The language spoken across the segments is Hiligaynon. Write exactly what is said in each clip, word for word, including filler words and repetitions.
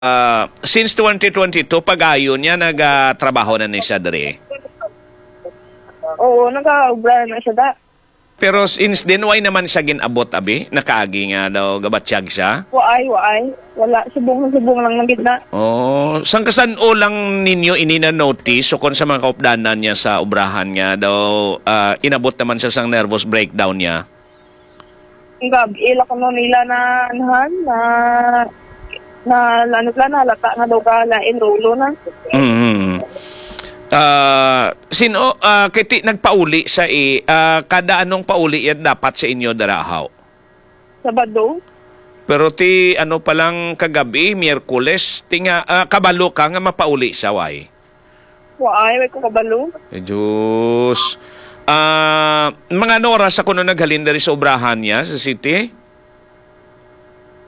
Ah, since twenty twenty-two, pag-ayo niya, nagatrabaho na ni siya diri? Oo, nagaobra na siya, da. Pero since then, why naman siya gin-abot, abi? Nakaagi nga daw gabatyag siya? Waay, waay. Wala, subong na subong lang na gid na. Oh, sang kasan-o lang ninyo ini na-notice o kon sa mga kaupdanan niya sa obrahan nga daw, ah, inabot naman siya sang nervous breakdown niya? Ang gabi, ila kuno nila na, anuhan, na, na, ano sila, nalata nga daw ka lain rolo na. Mm. Ah, sino, ah, kay ti-, nagpauli sa i-, ah, kada anong pauli yan dapat sa inyo darahaw? Sabado. Pero ti, ano pa lang kagabi, Miyerkules, ti nga, ah, kabalo ka nga mapauli sa way? Waay, way ko kabalo. Ay, Diyos. Ah, mga ano oras sa kuno naghalin diri sa obrahan niya sa city?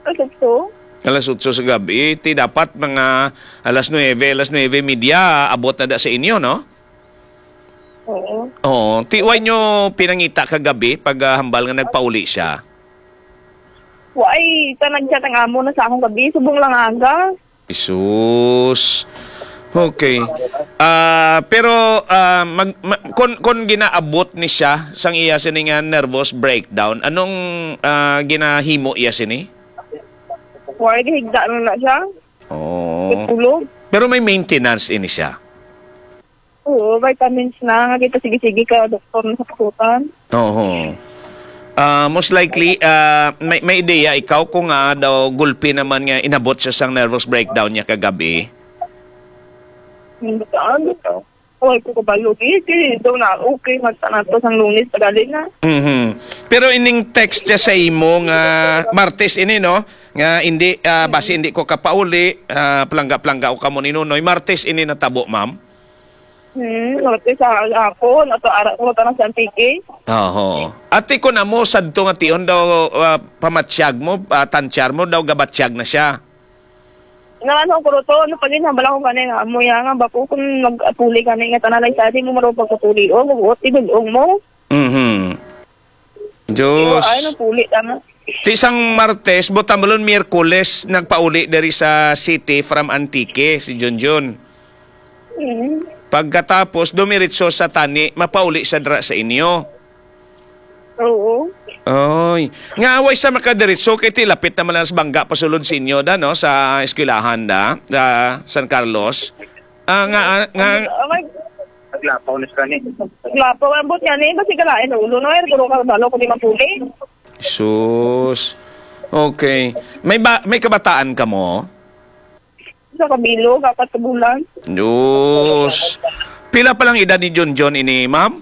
Alas otso. Alas otso sa gabi. Ti dapat mga alas nuebe, alas nuebe media, abot na da sa inyo, no? Oo. Oo. Ti, why nyo pinangita kagabi pag, ah, hambal nga nagpauli siya? Waay, ta nag-chat ang amo na sa akong gabi. Subong lang aga. Jesus. Okay. Ah, pero, ah, mag, ma-, kon, kon ginaabot ni siya sang iya sini nga nervous breakdown, anong, ah, ginahimo iya sini? Waay, gihigda na na siya. Oh. Tulog. Pero may maintenance ini siya? Oo, vitamins na. Nga kita sige-sige ka, doktor, na sa kasutan. Oo. Ah, most likely, ah, may, may ideya ikaw kung nga daw gulpi naman nga inabot siya sang nervous breakdown niya kagabi? Hindi ka, ano? Ay, ko kabalo. Di, di, daw na, okay, magtanato sang Lunes, pagali na. Mhm. Pero ining text niya sa imo nga Martes ini, no? Nga hindi, ah, basi hindi ko kapauli, ah, palangga-palangga ko kamo ni Nonoy. Martes ini natabo, ma'am? Hmm, Martes sa hapon, ato ara ko, tanang sa Antique. Oho. Ati ko na mo, sadto nga tion daw, ah, pamatyag mo, ah, tantyar mo, daw gabatyag na siya. Nga ano, kuruto, ano pa gid, hambal ako gani nga, amo ya nga, bako kung mag-apuli gani nga, tanalay sa di mo marunong pagpapuli, o, mabuot, idulong mo. Mhm. Diyos. Ay, nagpuli, tama. Ti sang Martes, buta mo lon, Miyerkules, nagpauli diri sa city from Antique, si Junjun. Mhm. Pagkatapos, dumiritso sa tani, mapauli sa dra sa inyo. Oo. Oy. Nga, way sa makadiritso, kay ti lapit naman lang sa bangga, pasulod sa inyo, da, no? Sa eskwelahan, da, sa San Carlos. Ah, nga, ah, nga, Ang, ang, Naglapaw na siya ni. Naglapaw, ambot nga ni, basi ka lain ulo, no? Ay, guro ka, balo, kung di mapuli. Sus. Okay. May ba, may kabataan ka mo? Sa kabilog, apat ka bulan. Diyos. Pila pa lang edad ni John John ini, ma'am?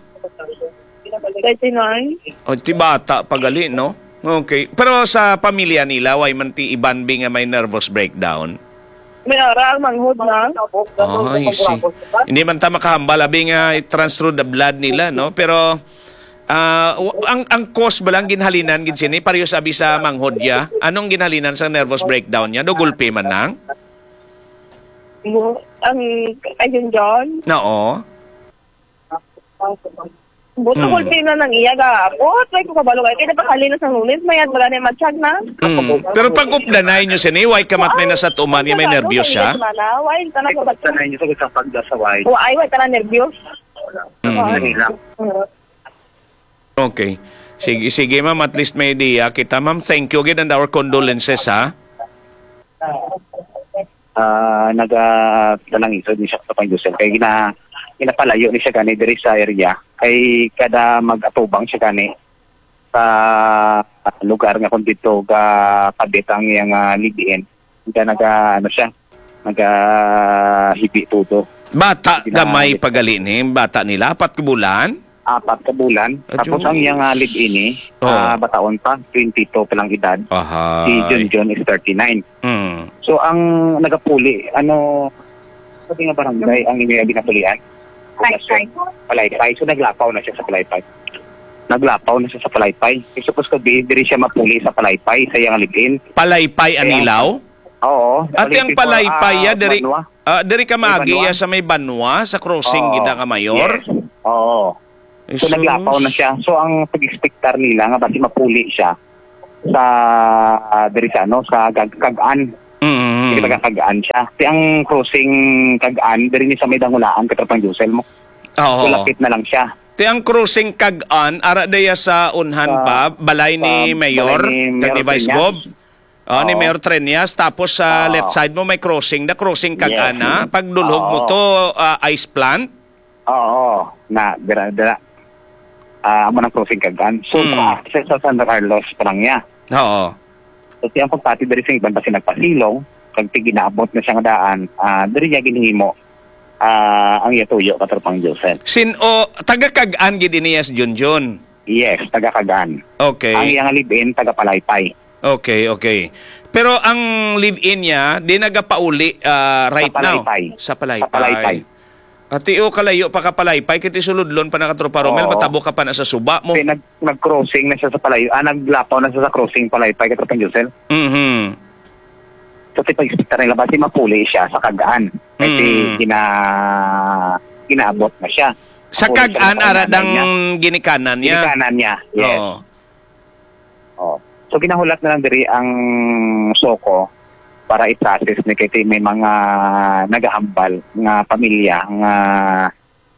Thirty-nine. O, ti bata pa gali, no? Okay. Pero sa pamilya nila, way man ti iban bi nga may nervous breakdown? May ara ang manghod na. Ay, see. Hindi man ta makahambal, abi nga it runs through the blood nila, no? Pero, ah, w-, ang, ang cause ba lang ginhalinan gid sini? Pareho sabi sa manghod ya. Anong ginhalinan sa nervous breakdown niya? Do gulpi man lang? Ang, ayun, John. Oo. Buto Mm. gulpi na nang iya ga. Buot, may ko kabalo kay kaya pakali na sa Lunes, mayad wala na yung matsyag na. Mm. Pero pag updanay nyo sini, way kamat may nasa tuman niya, may nervyos siya? Why ka na sa Sanay niyo sa isang pagdasaway. O ay, why ka na nervyos? Mm. Dali lang. Okay. Sige, sige, ma'am. At least may idea kita, ma'am. Thank you again and our condolences, ha? Ah, naga-, talang isod ni siya sa pangdusan. Kay gina-, ginapalayo ni siya gani diri sa area. Kay kada mag-atubang siya gani sa lugar nga kung dito ga-, kabit ang iyang, ah, live-in. Kaya naga-, ano siya, naga-, hibi tudo. Bata Gina-, gamay pagali ni, bata nila, apat ka bulan? Apat ka bulan. Ah, Tapos ang Diyos. iyang, ah, live-in ni, Oh. ah, bataon pa, twenty-two pa lang edad. Ahay. Si Junjun is thirty-nine. Mm. So, ang nagapuli, ano, sabi nga barangay, ang inyo yung ginapulian? Palaypay. Palaypay. So, naglapaw na siya sa Palaypay. Naglapaw na siya sa Palaypay. Eh, supposed to be, diri siya mapuli sa Palaypay, sa iyang live-in. Palaypay, Kaya Anilaw? Oo. Ate, ang Palaypay, ah, ya, diri, Banwa. ah, diri ka May maagi, Banwa? ya, sa may Banwa, sa crossing, Oo. gid nga mayor? Yes. Oo. So, Jesus. naglapaw na siya. So, ang pag-expectar nila nga basi mapuli siya sa, ah, diri sa, ano, sa Gag-, Cag-an. Mm. Kay Mm. taga Cag-an siya. Ti ang crossing Cag-an, diri ni sa may Dangulaan, Katropang Josel mo. Oo. So, lapit na lang siya. Ti ang crossing Cag-an, ara diya sa unhan Sa, pa, balay ni sa Mayor, balay ni kag ni Mayor Vice Treñas. Gov. Oh, ni Oo. Mayor Treñas, tapos sa Oo. left side mo may crossing, the crossing Yes. Cag-an, ha? Pag dulhog mo Oo. to, ah, ice plant. Oo, na, dira, dira. Ah, amo nang crossing Cag-an. So, Hmm. sa access sa San Carlos pa lang niya. Oo. So, ti ang pagpati diri sa iban basi nagpasilong, kag ti ginaabot na siya nga daan, ah, diri niya ginhimo, ah, ang iya tuyo, Katropang Joseph. Sin-, o, taga Cag-an gid ini, yes, Junjun? Yes, taga Cag-an. Okay. Ang iya nga live-in, taga Palaypay. Okay, okay. Pero ang live-in niya, di nagapauli, ah, right Sa now? Palaypay. Sa Palaypay. Sa Palaypay. Ati, o, kalayo pa ka Palaypay, kay ti suludlon pa na, Katropa Romel, Oo. matabo ka pa na sa suba mo. Kay nag-, nag-crossing na siya sa Palay-, ah, naglapaw na siya sa crossing Palaypay, Katropang Josel. Mhm. So, ti pag-expectar nila, basi mapuli siya sa Cag-an. Kay ti Mm. gina-, ginaabot na siya. Sa Mapuli siya Cag-an, sa ara kanan dang niya. ginikanan niya. Ginikanan niya, yes. Oo. Oh. So, ginahulat na lang diri ang SOCO para i-process ni, kay ti may mga nagahambal nga pamilya nga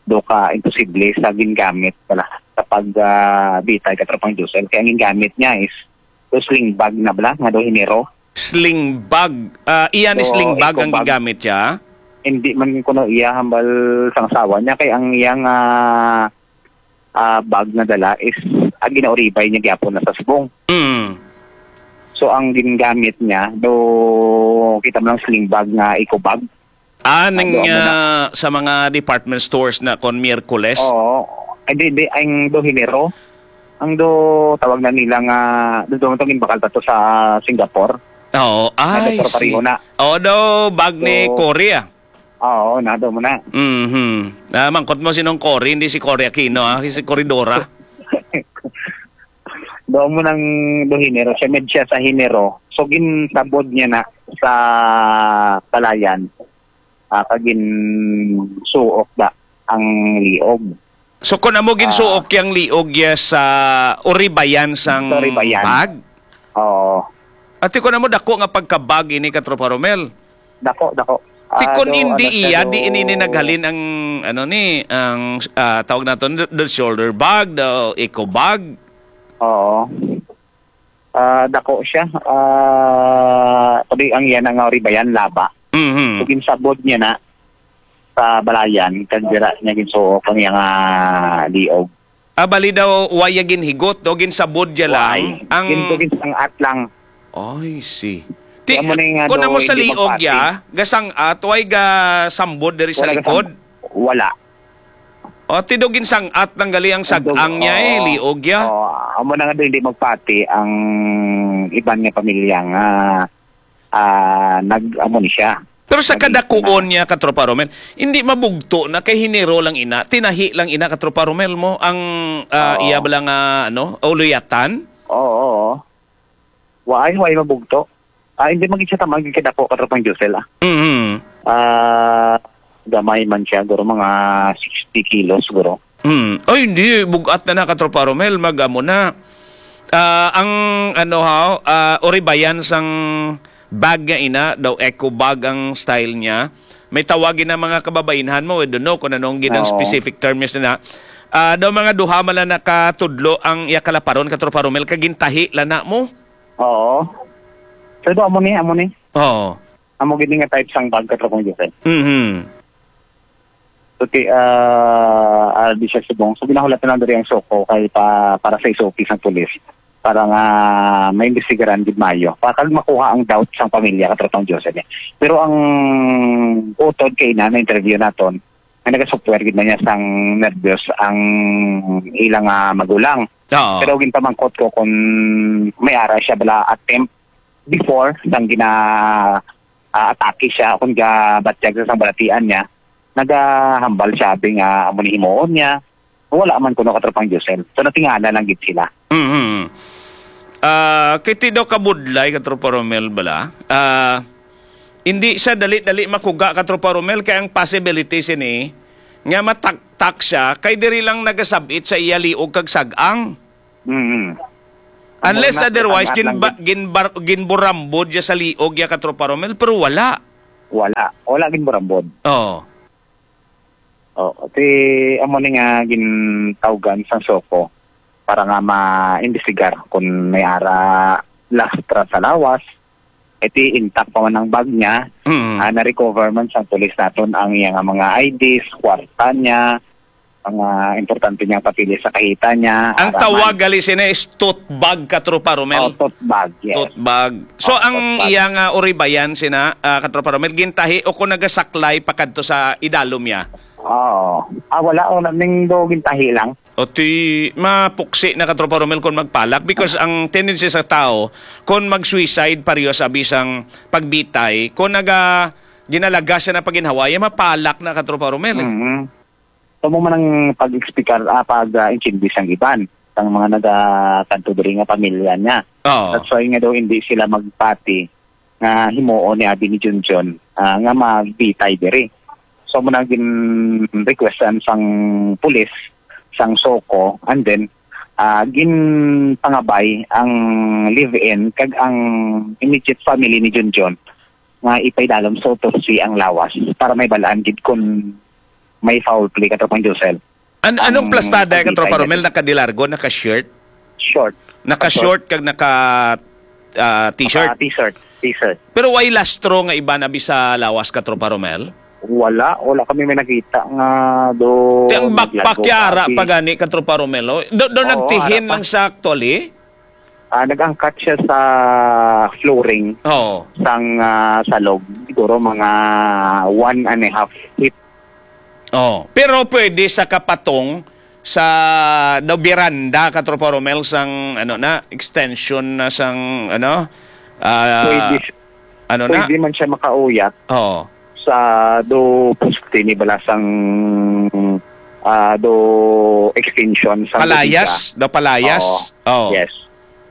do ka imposible sa gingamit pala sa pag, ah, bitay, Katropang Josel. Kay ang gingamit niya is do sling bag na bala, nga do hinero. Sling bag. Ah, iya ni So, sling bag eco ang bag. gigamit siya? Hindi man kuno iya hambal sang asawa niya, kay ang iyang, ah, ah, bag na dala is, ah, ginauribay niya gyapon na sa subong. Mm. So, ang gingamit niya, do, kita mo lang sling bag nga eco bag. Ah, Ando ning, mo na. ah, sa mga department stores na kon Miyerkules? Oo. Ay, di, di, ang do hinero. Ang do, tawag na nila nga, do, do, do, ginbakal pa to sa Singapore. Oo. Ay, Ay, pero pareho si-, na. Oo, do, bag ni So, Cory, ah. Oo, nado mo na. Mhm. Ah, mangkot mo sinong Cory, hindi si Cory Aquino, ah, si Corridora. Do mo nang do hinero, siya med siya sa hinero. So, ginsabod niya na sa palayan. Ah, kag ginsuok da ang liog. So, kung amo ginsuok Ah. yang liog ya sa uribayan sang Sa uribayan. bag? Oo. Ati, kung amo dako nga pagkabag ini, Katropa Romel? Dako, dako. Ti Ah, kon do, hindi ano siya, iya, do di ini, ini naghalin ang, ano ni, ang, ah, tawag naton, the, the shoulder bag, the eco bag. Oo. Ah, dako siya. Ah, pwede ang iya na nga uribayan, laba. Mhm. So, ginsabod niya na sa balayan, kag dira niya ginsuok ang iya nga liog. Ah, bali daw, wa ya ginhigot, do, ginsabod ya lang. Why? Ang Gin-, ginsangat lang. Ay, see. Ti, Kaya mo na yung, kung ano, amo sa hindi liog magpati. ya, gasang-at, way ga sambod diri sa Wala likod? gasang-, wala. O, ti do ginsangat lang gali ang Ang dug-, sag-ang niya, eh, oo. liog ya. Oo, amo na nga do, hindi magpati ang iban nga pamilya nga, ah, nag-, amo ni siya. Pero sa Nag-, kadakuon na niya, Katropa Romel, hindi mabugto na kay hinero lang ina, tinahi lang ina, Katropa Romel, mo ang, ah, Oo. iya bala nga, ano, uluyatan? Oo, oo. Waay, waay mabugto. Ah, hindi man gid siya tamaan gid kadako, Katropang Josel, ah. Mhm. Ah, gamay man siya, guro, mga sixty kilos, guro. Hmm. Ay, hindi. Bugat na na, Katropa Romel. Mag-amo na. Ah, ang, ano, ha, ah, uribayan sang bag nga ina, daw eco bag ang style niya. May tawag na mga kababainhan mo, we don't know kung anong ginang Oo. specific term niya na. Ah, daw mga duha man lang nakatudlo ang iya kalaparon, Katropa Romel, kag gintahi lang na mo. Oo. So, do, amo ni, amo ni. Oo. Amo gid ni nga type sang bag, Katropang Josel. Mhm. So, ti, ah, ah, di siya subong. So, ginahulat na lang diri ang SOCO kay pa, para sa S O P sang pulis. Para nga maimbestigaran gid maayo. Para kag makuha ang doubt sang pamilya, Katropang Josel, eh. Pero ang utod kay ina, na-interview naton, nga naga-suffer gid man niya sang nervyos ang ilang, ah, magulang. Oo. Pero ginpamangkot ko kung may ara siya bala attempt before sang gina-, ah, atake siya, kung gabatyag sa sang balatian niya, nagahambal siya, abi nga amo ni himuon niya. Wala man kuno, Katropang Josel. So, natingala lang gid sila. Mhm. Ah, kay ti daw kabudlay, Katropa Romel, bala. Ah, hindi siya dali-dali makuga, Katropa Romel, kay ang possibility sini nga mataktak siya kay diri lang nagasabit sa iya liog kag sag-ang. Mhm. Unless Mao na, otherwise, nakaangat lang ginba-, gid. ginbar-, ginburambod siya sa liog ya, Katropa Romel, pero wala. Wala. Wala ginburambod. Oo. Oo. Ti, amo ni nga gintawgan sang SOCO para nga ma-imbestigar kung may ara lastra sa lawas. Iti intact pa man ang bag niya, Mm. ah, na-recover man sang pulis naton ang iya nga mga I Ds, kwarta niya, mga importante niyang papeles sa kahita niya, Ang ara tawag man. gali sina is tote bag, Katropa Romel. Oh, tote bag, yes. Tote bag. So, Oh, ang tote bag. iya nga uribayan sina, ah, Katropa Romel, gintahi o kung nagasaklay pa kadto sa idalom niya? Oo. Ah, wala. Oh, ning do gintahi lang. O ti, mapuksi na, Katropa Romel, kung magpalak because ang tendency sa tao, kung mag-suicide, pareho sa bisang pagbitay, kung naga, ginalagas siya na paginhawaya, mapalak na, Katropa Romel, eh. Mhm. Amo man ang pag-explicar, ah, pag, ah, intindi sang iban, sang mga nagakanto diri nga pamilya niya. Oo. That's why nga daw hindi sila magpati nga himuon ni abi ni Junjun, ah, nga magbitay diri. So, amo na gin-requestan sang pulis, sang SOCO, and then, ah, ginpangabay ang live-in kag ang immediate family ni Junjun nga ipaidalom sa autopsy ang lawas para may balaan gid kung may foul play, Katropang Josel. An-, anong Ang plastada, pagbitay Katropa niya Romel? dito. Nakadilargo, naka-shirt? Short. Naka-short kag naka, ah, t-shirt? Naka t-shirt. T-shirt. Pero way lastro nga iba na bi sa lawas, Katropa Romel? Wala. Wala kami may nakita nga do Ti ang backpack naglago yara pa bi. pa gani, Katropa Romel, oh. Do, do Oo, nagtihin ara pa. lang sa actually? Ah, nag-angkat siya sa flooring Oo. sang, ah, salog. Siguro mga one and a half feet. Oh, pero pwede sa kapatong sa daw beranda, Katropa Romel, sang, ano na, extension na sang, ano, ah, Pwede si-, ano na? pwede man siya makauyat Oo. sa do poste ni bala sang, ah, do extension sa Palayas? bodega. Daw palayas? Oo. Oo. Yes.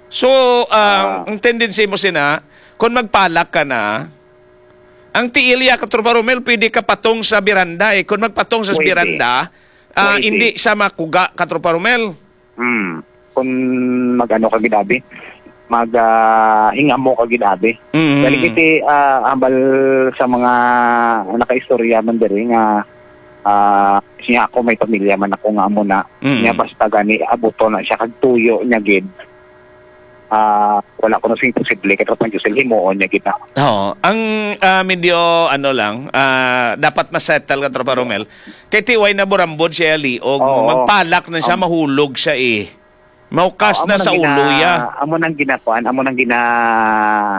So, ah, Ah. ang tendency mo sina, kung magpalak ka na, ang tiil ya, Katropa Romel, pwede ka patong sa beranda, eh. Kung magpatong sa Pwede. beranda, ah, Pwede. hindi sa makuga, Katropa Romel. Hmm. Kung mag-ano ka gid abi, mag, ah, hingamo ka gid abi. Mm. Dali kiti, ah, hambal sa mga nakaistorya man diri nga, ah, siya ako may pamilya man ako nga amo na. Mm. Niya basta gani abuto na siya kag tuyo niya gid. Ah, wala ko na sing posible, Katropang Josel, himuon niya gid na. Oo. Ang, ah, medyo, ano lang, ah, dapat ma-settle, Katropa Romel. Kay ti way na burambod siya, liog. Oo. Magpalak na siya, Am- mahulog siya, eh. Maukas Oo, na amo sa nang ulo, gina-, ya. amo nang ginakuan, amo nang gina-,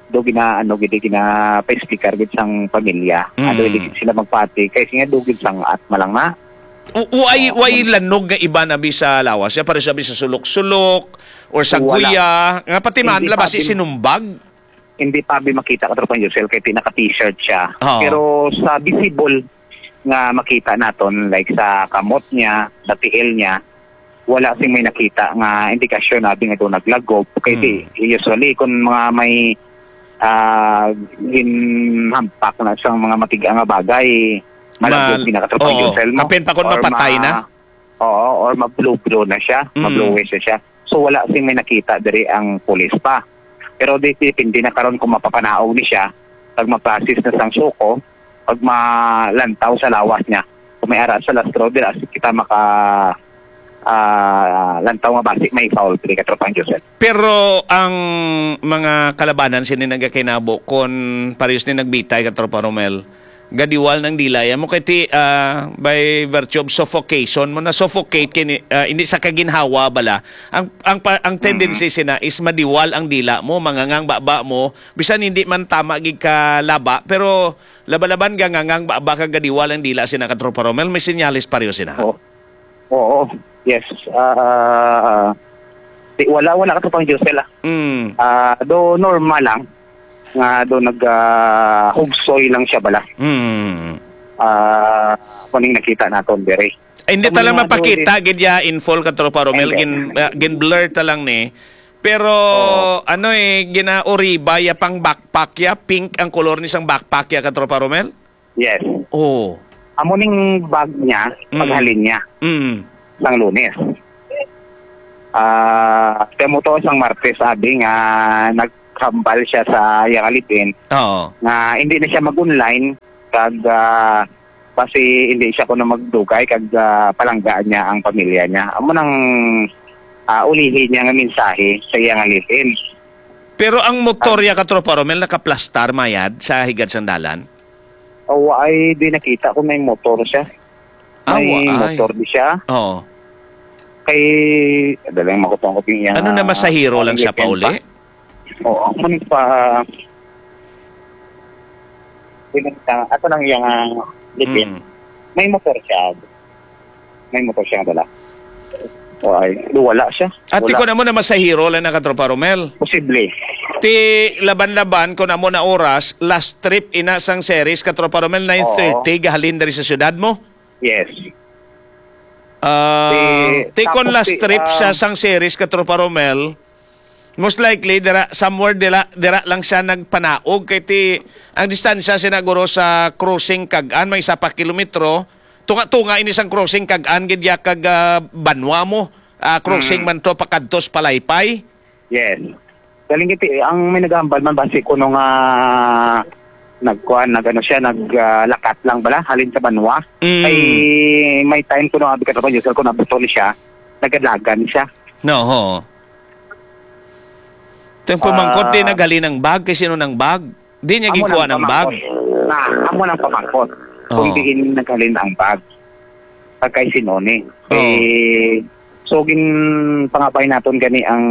do gina-, ano, gid, gina-, pa-explicar gid sang pamilya. Mm. Ano, hindi gid sila magpati. Kay siya, do gid sang at malang na. U-, uay, Oo, way amo. lanog nga iba na bi sa lawas. Ya, pare sabi sa sulok-sulok or sa Wala. guya. Nga pati man Hindi la, pa basi din. sinumbag. Hindi pa bi makita, Katropang Josel, kay ti naka-t-shirt siya. Oo. Pero sa visible nga makita naton, like sa kamot niya, sa tiil niya, wala sing may nakita nga indikasyon abi nga do naglagob. Kay di, Hmm. usually, kung mga may, ah, ginhampak na sa mga matiga nga bagay, Ma-, malaglag din na, Katropang oo. Josel, mo. Kapin pa kung Or mapatay ma-, na. Oo, or ma-blow-blow na siya, Mm. ma-blowish na siya. So, wala sing may nakita diri ang pulis pa. Pero di, depende na karon kung mapapanaog ni siya, pag ma-process na sang SOCO, pag malantaw sa lawas niya, kung may ara sa lastro, dira kita maka, ah, lantaw nga basi may foul play, Katropang Joseph. Pero ang mga kalabanan sini nagakinabo kon parehas ni nagbitay, Katropa Romel, gadiwal ng dila ya mo kay ti, ah, by virtue of suffocation mo na suffocate kini, ah, hindi sa kaginhawa bala. Ang, ang pa-, ang tendency Mm-hmm. sina is madiwal ang dila mo, mangangang baba mo, bisan hindi man tama gid ka laba, pero laba-laban ka ngangang baba ka gadiwal ang dila sina, Katropa Romel, may senyales pareho sina. Oo. Oo. Yes. Ah, di, wala, wala, Katropang Josel, ah. Mm. Ah, do normal lang nga do nag, ah, hugsoy lang siya bala. Mm. Ah, kuning nakita naton diri. Ay, hindi So, ta lang may mga mapakita, dulis. gid ya, in full, Katropa Romel. Hindi. Gin-, ah, gin-blur ta lang ni. Pero, Oo. ano eh, ginauriba ya pang backpack ya, pink ang kolor ni sang backpack ya, Katropa Romel? Yes. Oo. Amo ning bag niya, Mm. paghalin niya Mm. sang Lunes. Ah, kamo to sang Martes, abi nga naghambal siya sa iyang live-in Oo. nga hindi na siya mag-online kag, ah, basi hindi siya kuno magdugay kag, ah, palangga niya ang pamilya niya. Amo nang, ah, ulihi niya nga mensahe sa iyang live-in. Pero ang motor Ah. ya, Katropa Romel, nakaplastar mayad sa higad sang dalan? Awa, ay di nakita kung may motor siya. Ah, May wa ay. motor di siya. Oo. Kay, dalang makutong ko yung Ano na, ah, masahero lang siya weekend pauli? pa. Oo, man pa, pinunta, ato lang yung, ah, weekend. Mm. May motor siya. May motor siya nga dala. Why? Wala siya. Ati Wala. ko na mo na masahero lang na, Katropa Romel. Posible. Ti laban-laban ko na mo na oras, last trip ina sang series, Katropa Romel, Oo. nine thirty, gahalin diri sa syudad mo? Yes. Ah, Ti ti kon tapos last ti, trip siya ah, sang series, Katropa Romel, most likely, dira, somewhere dira, dira lang siya nagpanaog. Kay ti, ang distansya sinaguro sa crossing kag-an, may isa pa kilometro. Tunga-tunga ini sang crossing kag-an, gid ya kag, ah, Banwa mo. Ah, crossing Mm. man to, pakadto sa Palaypay. Yes. Galing iti, ang may nagahambal man basi kuno nga nagkuan, nag-ano siya, nag, ah, lakat lang bala, halin sa Banwa. Mm. Kay may time kuno, abi ka trabaho, sir, kung nabuto ni siya, nagadagan siya. No, ho. Ito yung pamangkot, Ah. di naghalin ang bag, kay sino nang bag? Di niya Amo ginkuha nang ng bag? pamangkot. Na, amo nang pamangkot. Kung Oo. diin naghalin ang bag. Pagkay sino ni. Oo. Eh, so, ginpangabay naton gani ang,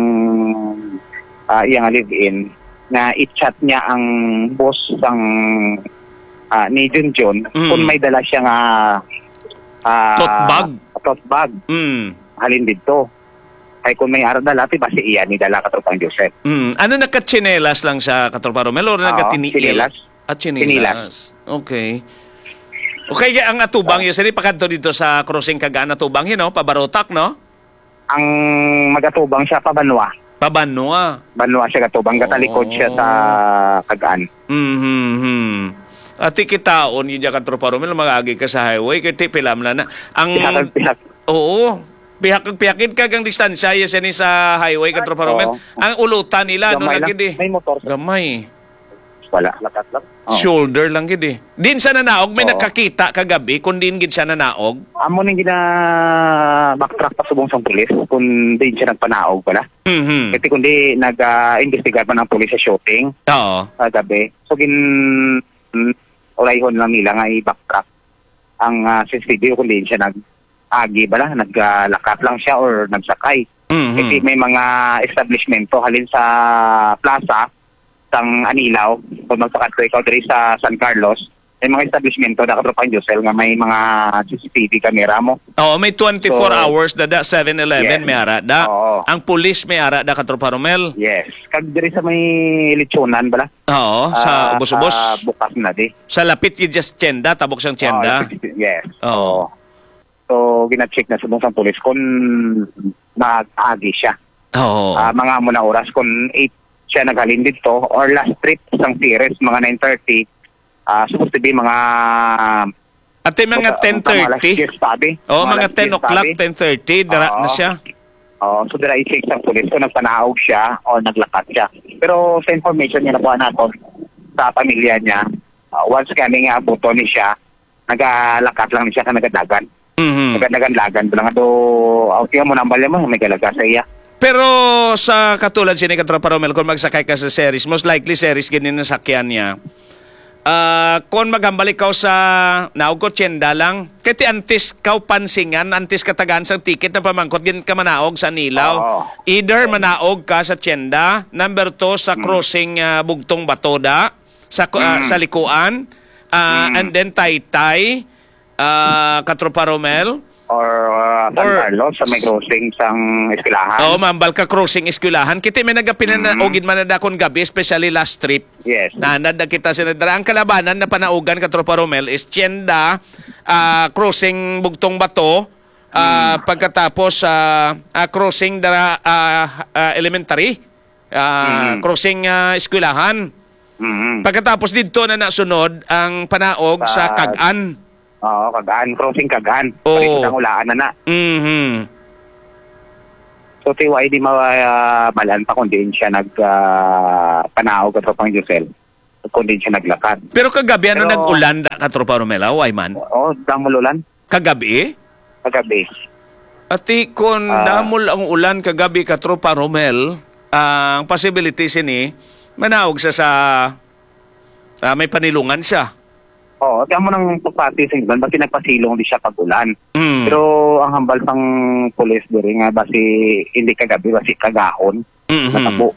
ah, iya nga live-in nga i-chat niya ang boss sang, ah, ni Junjun Mm. kung may dala siya nga, ah, Tote bag? tote bag. Mm. Halin didto. Ay, kung may ara dala, ti basi iya ni dala, Katropang Joseph. Mm. Ano, nakatsinelas lang siya, Katropa Romel, or Oo, nagatiniil? tsinelas. Ah, tsinelas. Tsinelas. Okay. Okay, ang atubang, Oo. yun, sini, pakadto dito sa crossing kag-an, atubang, you know, pabarotak, no? Ang magatubang siya pa Banwa. Pabanwa. Banwa siya gatubang, gatalikod siya sa Oo. kag-an. Mhm. Ati kitaon, yun, Katropa Romel, mag-agi ka sa highway, kay ti, pila man na. Ang Pihak, pihak. Oo. Pihak, pihakid ka ang distansya, yes, yan sa highway, Katropa Romel. Oo. Ang ulutan nila, no, Gamay lang. lagi di. May motor. Gamay. Wala. Lakat lang. Oo. Shoulder lang gid eh. Din sa nanaog, may Oo. nakakita kagabi kung diin gid siya nanaog? Amo ning gina-backtrack pa subong sang pulis kung diin siya nagpanaog pala. Mhm. Kasi kundi nag, ah, investigar man ang pulis sa shooting Oo. kagabi. So, gin-, mm, urayhon lang nila nga i-backtrack ang, ah, C C T V kung diin siya nag-agi bala, naglakat lang siya or nagsakay. Mhm. Kasi may mga establishmento halin sa plaza sang Anilao, kung magpakadto ikaw diri sa San Carlos, may mga establishmento na, Katropang Josel, nga may mga C C T V camera mo. Oo, may twenty-four So, hours dada, seven eleven yes. may ara da. Oo. Ang pulis may ara da, Katropa Romel. Yes. Kag diri sa may Lechonan bala? Oo, sa Ah, Ubos-Ubos. ah, bukas na di. Sa lapit kay Just Tienda, tabok sang Tienda. Ah, yes. Oo. Oo. So, gina-check na subong sang pulis kung nag-agi siya. Oo. Ah, mga amo na oras kung eight siya naghalin dito or last trip sang Ceres, mga nine thirty, ah, supposed to be mga Ate, mga Buta-, buta, mga alas ten thirty. diyes pa, abi. Oo, Mga mga alas ten diyes pa, o'clock, abi. ten thirty, dara na Oo. siya. Oo, so dira i-check sang pulis kung nagpanaog siya o naglakat siya. Pero sa information nga nakuha naton sa pamilya niya, ah, once kami nga abuton ni siya, nagalakat lang ni siya ka nagadagan. Mhm. Nagadagan-dagan pa lang ato, ah, tiyan mo nang balya mo, may galaga sa iya. Pero sa katulad sini, Katropa Romel, kung magsakay ka sa Ceres, most likely Ceres gid ni nasakyan niya. Ah, kung maghambal ikaw sa naog ko, tienda lang. Kay ti antes kaw pansingan, antes katagaan sang ticket na pamangkot, gin ka manaog sa Anilao. Oo. Either manaog ka sa tienda, number two, sa Mm. crossing, ah, Bugtong Batoda, sa ku-, ah, Mm. sa Likuan, ah, Mm. and then Taytay, ah, Katropa Romel. Or, ah, San Or Carlos, sa may s-, crossing sang Eskwelahan. Oo, ma'am, Balka Crossing, Eskwelahan. Kiti may nagapinana-, Mm. ugid man na dakon gabi, especially last trip. Yes. Nanad na kita sa nadra. Ang kalabanan na panaugan, Katropa Romel, is Tienda, ah, crossing Bugtong Bato, ah, Mm. pagkatapos, ah, ah, crossing dara, ah, ah, elementary, ah, Mm. crossing, ah, Eskwelahan. Mm. Pagkatapos didto na nasunod ang panaog sa Sa Kag-an. Oo, Kag-an, crossing Kag-an. Oo. Palikod ang ulaan na na. Mhm. So, ti, wa di mabalaan pa kung diin siya nag, ah, panaog, Katropang Josel. Kung diin siya naglakad. Pero kagabi, ano, Pero nag-ulan da, Katropa Romel, ah, why man? Oo, damol ulan. Kagabi? Kagabi. Ati, kung Ah. damol ang ulan kagabi, Katropa Romel, ang possibility sini, manaog sa, sa, ah, may panilungan siya. Oo, kaya mo nang pagpati sa iban, basi nagpasilong di siya pag-ulan. Mm. Pero ang hambal sang pulis diri nga basi hindi kagabi, basi kagahon, Mhm. natabo.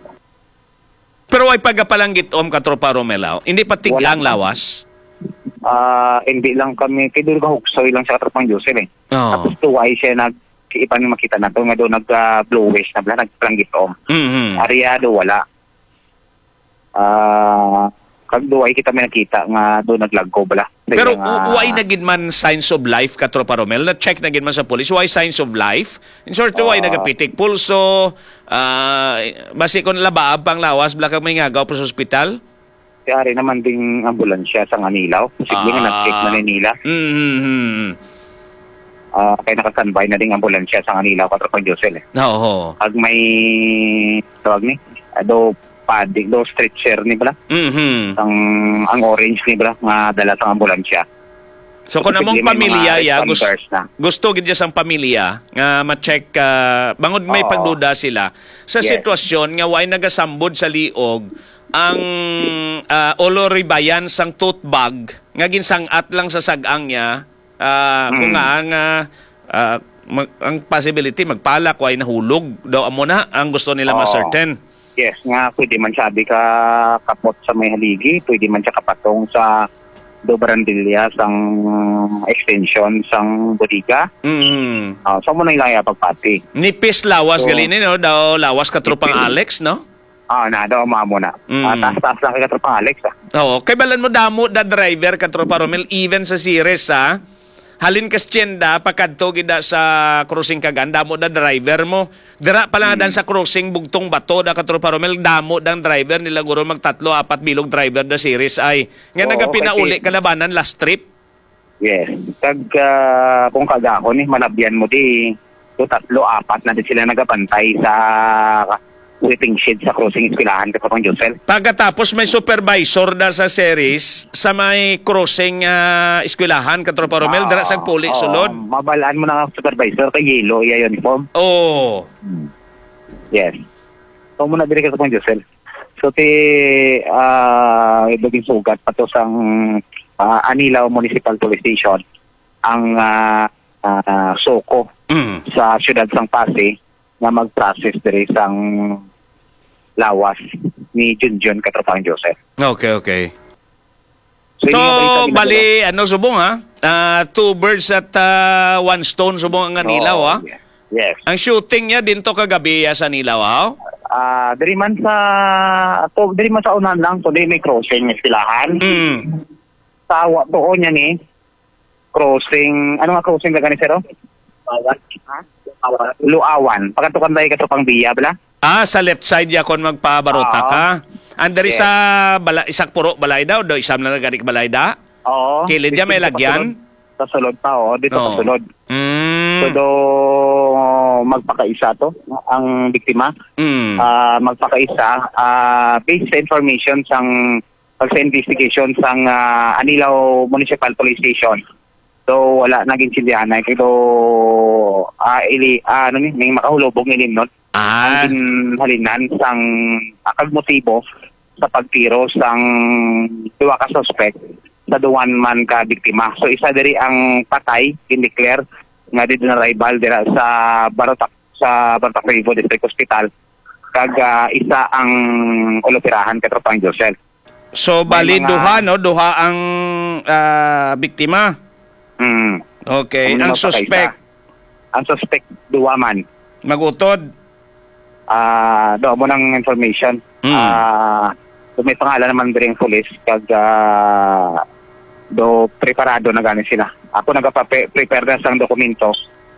Pero way pagapalanggitom, Katropa Romel, aw? Hindi pa tig-a ang lawas? Ah, hindi lang kami, kay duro gahuksoy lang siya, Katropang Josel, eh. Oo. Tapos tuway siya nag, iban makita na to, nga daw nag, ah, bluish na bala, nagpalanggitom. Mhm. Aryado, wala. Ah, kag duway kita may nakita nga do naglago bala. Sa Pero iyang, w-, ah, way na gid man signs of life, Katropa Romel? Na-check na gid man sa police? Way signs of life? In short, way Ah. nagapitik pulso, ah, basi kon labaab pang lawas, bala kag may ngagaw pa sa ospital? Kay ari naman ding ambulansya sa Anilaw. Posible nga Ah. nag-check na ni nila. Mm-hmm. Ah, kay naka-standby na ding ambulansya sa Anilaw, Katropang Josel, eh. Oo. Pag may, tawag ni, ah, do padding, do stretcher ni bala. Mhm. Ang, ang orange ni bala nga dala sa ambulansya. So, kung among Posible may mga pamilya, ya, gus-, responders na. gusto gid siya sang pamilya nga ma-check, ah, bangod may Oo. pagduda sila sa Yes. sitwasyon nga way nagasambod sa liog ang, ah, oloribayan sang tote bag nga ginsang-at lang sa sag-ang niya, ah, kung Mm. nga ang, ah, ah, mag-, ang possibility magpalak, way nahulog daw, amo na ang gusto nila Oo. ma-certain. Yes, nga pwede man siya abi ka kapot sa may haligi, pwede man siya kapatong sa do barandilya sang extension sang bodega. Mm. Ah, so, amo na ilang iya pagpati. Nipis lawas So, gali ni, no? Daw lawas, Katropang nipis. Alex, no? Ah, na, daw, amo na. Mm. Ah, taas-taas lang kay Katropang Alex, ah. Oo. Kay balan mo, damo da driver, Katropa Romel, even sa Ceres, ha? Halin ka sa tienda, pakadto gid da sa crossing kag an, damo da driver mo. Dira pa lang Mm. dan sa crossing Bugtong Bato da, Katropa Romel, damo dang driver nila, guro magtatlo, apat bilog driver da Ceres ay. Nga Oo, nagapinauli kasi kalabanan last trip. Yes. Kag, ah, kung kagahon, eh, malabyan mo di, do tatlo, apat na di sila nagabantay sa waiting shed sa crossing eskwelahan, Katropang Josel. Pagkatapos may supervisor da sa Ceres sa may crossing, ah, eskwelahan, Katropa Romel, dira sa Ah, puli oo. sulod. Mabalaan mo na nga supervisor kay yellow iya uniform. Oo. Hmm. Yes. So, muna diri, Katropang Josel. So, ti, ah, naging sugat pa to sang, ah, Anilao Municipal Police Station ang, ah, ah, SOCO Mm. sa siyudad sang Passi nga mag-process diri sang lawas ni Junjun, Katropang Joseph. Okay, okay. So, So, yun yung balita, bali, ano, subong, ha? Ah, two birds at, ah, one stone, subong ang Anilaw, Oo, ha? Yes. Ang shooting niya din to kagabi, ah, sa Anilaw, ha? Ah, diri man sa, to, diri man sa unahan lang, kundi may crossing, may eskwelahan. Mm. Sa wa-, tuo niya ni, crossing, ano nga crossing ka gani, sir, oh? Luawan. Ha? Luawan. Luawan. Pagkatukan tayo ka Tropang Biya, bala? Ah, sa left side ya kon magpabarota Oo. ka. Andari Yes. sa bala-, isak puro balay daw, do isam na nagari ka balay da? Oo. Kilid ya may Distinto lagyan? Pasulod. Pasulod pa, oo. Dito Oo. pasulod. Mm. So, do magpakaisa to, ang biktima. Mm. Ah, magpakaisa, ah, based sa information sang pag sa investigation sang, ah, Anilao Municipal Police Station. So, wala naging sindihanay. Pero, ah, ili-, ah, ano ni, may makahulubog nga ilimnon. Ah. Ang ginhalinan sang, ah, kag motibo sa pagtiro sang duha ka suspect sa duwan man ka biktima. So, isa diri ang patay, gindeclare nga dead on arrival dira sa Barotac, sa Barotac Nuevo District Hospital. Kag, ah, isa ang ulopirahan, Katropang Joseph. So, May bali, mga duha, no? Duha ang, ah, biktima? Mm. Okay. Ang Ang mga suspect? pakaisa. Ang suspect, duha man. Mag-utod? Ah, do, amo nang information. Mm. Ah, do may pangalan naman diri ang pulis, kag, ah, do preparado na gani sila. Ako nagapa-, prepare na sang dokumento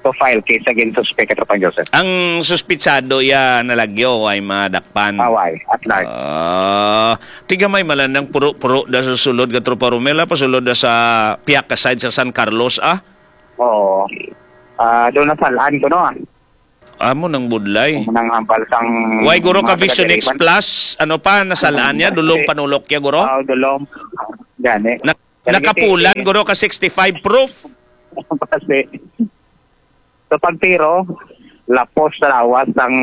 to file case against suspect, Katropang Joseph. Ang suspitsado ya nalagyo ay madakpan? Away, at large. Ah, tigamay malandang puro-puro da sa sulod, Katropa Romel, ah, pasulod da sa piyak ka side sa San Carlos, ah? Oo. Ah, doon na salaan ko, no, ah. Amo nang budlay. Amo nang hambal sang Why, guro, ka mga Vision X taga-Diliman. Plus? Ano pa? Nasalaan niya? Dulong panulok niya, guro? Ah, dulong. Gani. Na- Kaya Nakapulan, giti- guro, ka sixty-five proof? Kasi, sa pagtiro, lapos sa lawas ang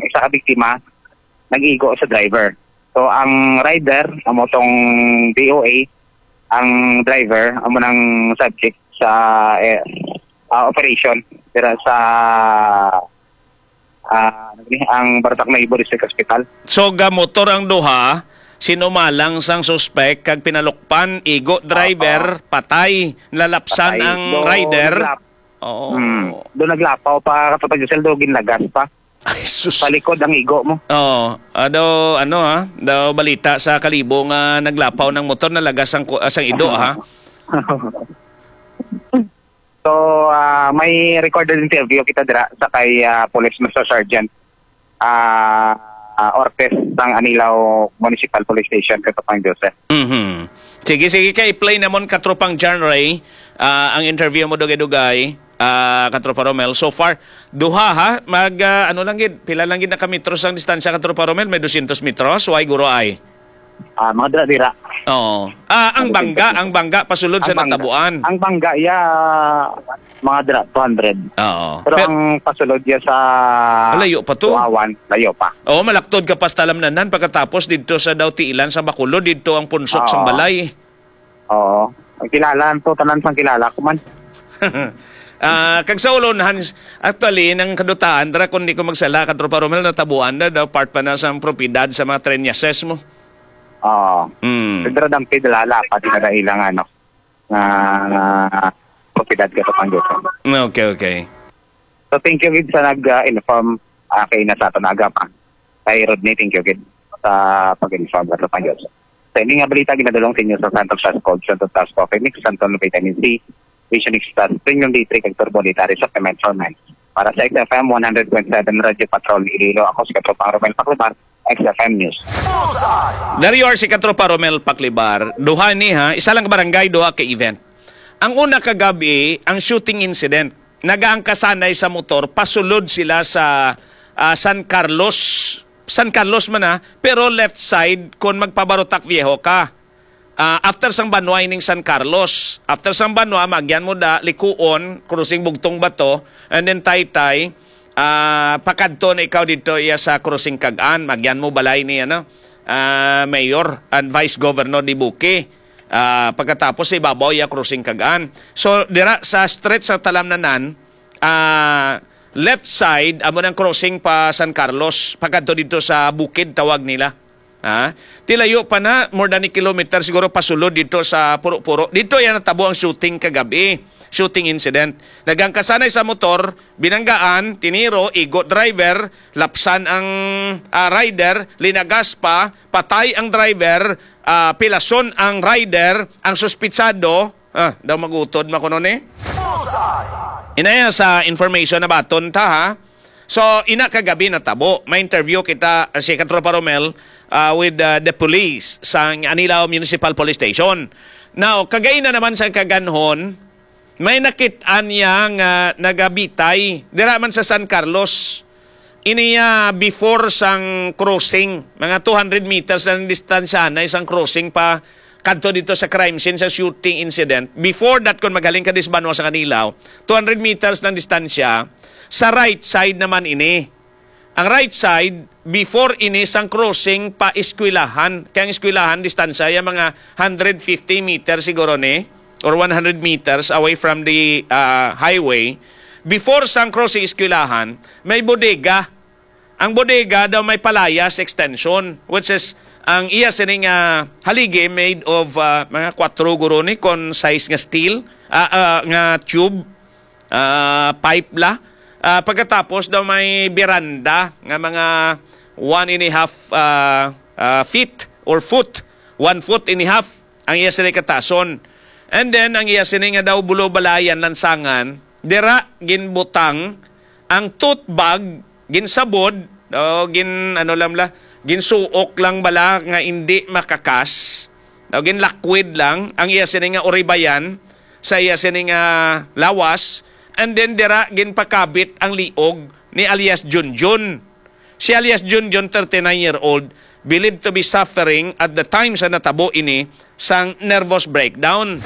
isa ka biktima, nag-igo sa driver. So, ang rider, amo tong D O A, ang driver, amo nang subject sa, eh, ah, operation. Pero sa, ah, ano ni, ang Barotac Nuevo District Hospital. So, gamotor ang duha, sinumalang sang suspek kag pinalukpan, igo driver, Oo. patay, nalapsan Patay. ang Do rider. naglap-, Oo. Hmm. Do naglapaw pa, Katropang Josel, do ginlagas pa. Ay, sus. Sa likod ang igo mo. Oo. Ah, daw, ano, ha? Daw balita sa Kalibo nga naglapaw ng motor, nalagas ang ku-, ah, sang ido, ha? So, ah, may recorded interview kita dira sa kay, ah, Police Master Sergeant, ah, ah, Ortiz sang Anilao Municipal Police Station, Katropang Josel. Mhm. Sige, sige, kay play namon, Katropang John Ray, ah, ang interview mo, dugay-dugay, ah, Katropa Romel. So far, duha, ha? Mag, ah, ano lang gid, pila lang gid na ka metros ang distansya, Katropa Romel? May dosyentos metros? Why, guro, ay? Ah, mga dira-dira. Oo. Ah, ang Mga bangga, dosyentos. ang bangga, pasulod sa Ang bangga. natabuan. Ang bangga, ya, mga dira, two hundred. Oo. Pero Pe- ang pasulod ya sa Malayo pa to. Buawan, layo pa. Oo, malaktod ka pa sa Talamnanan, pagkatapos didto sa daw tiilan sa Bacolod, didto ang punsok sang Oo. balay. Oo. Ang kilala to, tanan sang kilala ko man. Ah, kag sa Ulonhan, actually, nang kadutaan, dira, kung di ko magsala, Katropa Romel, natabuan na daw, part pa na sa propiedad sa mga Treñases mo. Oo. Mm. Pero dampid, lala, pati na ilang, ano, nga, nga propiedad, Katropang Josel. Okay, okay. So, thank you gid sa nag, ah, inform, ah, kay na sa aton agap, ah. Kay Rodney, thank you gid sa pag-inform, Katropang Josel. Sa ini nga balita, ginadulong sa inyo sa Santos Task Force, Santos Task Force, Mix, Santon Vitamin C, Vision Extra, Premium D three, kag Turbo D three Supplement for Men. Para sa X F M one hundred point seven Radyo Patrol Iloilo, ako si Katropang Romel Paclubar, X F M News. There you are, si Katropa Romel Paclibar. Duha ni, ha, isa lang ka barangay, duha ka event. Ang una kagabi, ang shooting incident. Nagaangkasanay sa motor, pasulod sila sa, ah, San Carlos. San Carlos man, ha, pero left side kung magpa-Barotac Viejo ka. Ah, after sang Banwa ining San Carlos. After sang Banwa, maagyan mo da, Likuon, crossing Bugtong Bato, and then Taytay, ah, pakadto na ikaw didto iya sa crossing Cag-an, maagyan mo balay ni, ano, ah, Mayor and Vice Governor Dibuki. Ah, pagkatapos sa ibabaw iya crossing Cag-an. So, dira sa stretch sa Talamnanan, ah, left side, amo nang crossing pa San Carlos, pakadto didto sa bukid, tawag nila. Ha? Tilayo pa na, more than a kilometer siguro pasulod dito sa Puro-Puro. Dito yan natabo ang shooting kagabi. Shooting incident. Nagangkasanay sa motor, binanggaan, tiniro, igo driver, lapsan ang, ah, rider, linagas pa, patay ang driver, ah, pilason ang rider, ang suspitsado, ah, daw magutod makuno ni. Inaya sa information na baton ta, ha. So, ina kagabi natabo, may interview kita, ah, si Katropa Romel, ah, with, ah, the police sa Anilao Municipal Police Station. Now, kagay na naman sa kaganhon, may nakit-an niya nga nagabitay dira man sa San Carlos. Ini, ah, before sang crossing, mga two hundred meters lang distansya na isang crossing pa kadto dito sa crime scene sa shooting incident. Before that, kung magaling ka dis Banwa sa Kanilaw, two hundred meters lang distansya, sa right side naman ini. Ang right side, before ini sang crossing pa eskwelahan. Kaya ang eskwelahan, distansya, yung mga hundred fifty meters siguro ni, or one hundred meters away from the, ah, highway. Before sang crossing eskwelahan, may bodega. Ang bodega daw may palayas extension, which is, ang iya sining, ah, haligi made of, ah, mga kwatro guro ni kon size nga steel, ah, ah, nga tube, ah, pipe la. Ah, pagkatapos daw may beranda nga mga one and a half, ah, ah, feet or foot, one foot and a half ang iya sini katason. And then, ang iya sini nga daw bulobalayan, lansangan, dira ginbutang ang tote bag, ginsabod, o gin, ano lang la, ginsuok lang bala nga indi makakas, o ginlakwid lang ang iya sini nga uribayan sa iya sini nga lawas, and then dira ginpakabit ang liog ni alias Junjun. Si alias Junjun, thirty-nine year old, believed to be suffering at the time sa natabo ini sang nervous breakdown.